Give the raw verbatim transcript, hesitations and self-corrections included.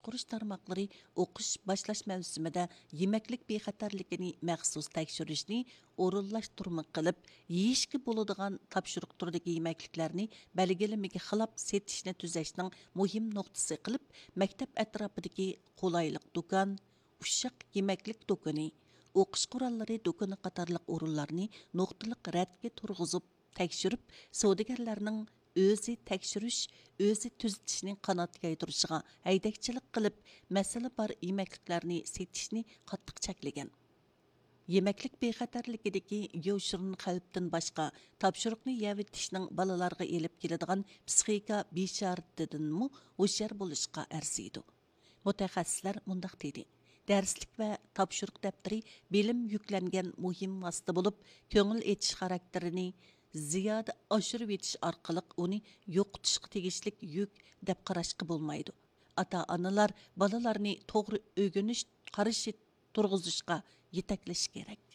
باشقۇرۇش تارماقلىرى ئوقۇش باشلاش مەۋسۇمىدە يېمەكلىك بىخەتەرلىكىنى مەخسۇس تەكشۈرۈشنى ئورۇنلاشتۇرما قىلىپ، يېيىشكە بولىدىغان تاپشۇرۇق تۈرىدىكى يېمەكلىكلەرنى بەلگىلىمىگە خىلاپ سېتىشنى تۈزەشنىڭ مۇھىم نۇقتىسى قىلىپ، مەكتەپ ئەتراپىدىكى قولايلىق دۇكان، ئۇششاق يېمەكلىك دۇكىنى، ئوقۇش قوراللىرى دۇكىنى قاتارلىق ئورۇنلارنى نۇقتىلىق رەتكە تۇرغۇزۇپ تەكشۈرۈپ، سودىگەرلەرنىڭ ئۆزى تەكشۈرۈش، ئۆزى تۈزىتىشنى قانات يايدۇرۇشىغا ھەيدەكچىلىك قىلىپ، مەسىلە بار يېمەكلىكلەرنى سېتىشنى قاتتىق چەكلىگەن. يېمەكلىك بىخەتەرلىكىدىكى يوشۇرۇن خەۋپتىن باشقا، تاپشۇرۇقنى يەۋېتىشنىڭ بالىلارغا ئېلىپ كېلىدىغان پسىخىكا بىشارىتىدىنمۇ ھوشيار بولۇشقا ئەرزىيدۇ. مۇتەخەسسىسلەر مۇنداق دېدى: دەرسلىك ۋە تاپشۇرۇق دەپتىرى بىلىم يۈكلەنگەن مۇھىم ۋاسىتە بولۇپ، كۆڭۈل ئېچىش خاراكتېرىنى زىيادە ئاشۇرۇۋېتىش ئارقىلىق ئۇنى يوقىتىشقا تېگىشلىك يۈك دەپ قاراشقا بولمايدۇ. ئاتا ئانىلار بالىلارنى توغرا ئۆگىنىش قارىشى تۇرغۇزۇشقا يېتەكلىشى كېرەك.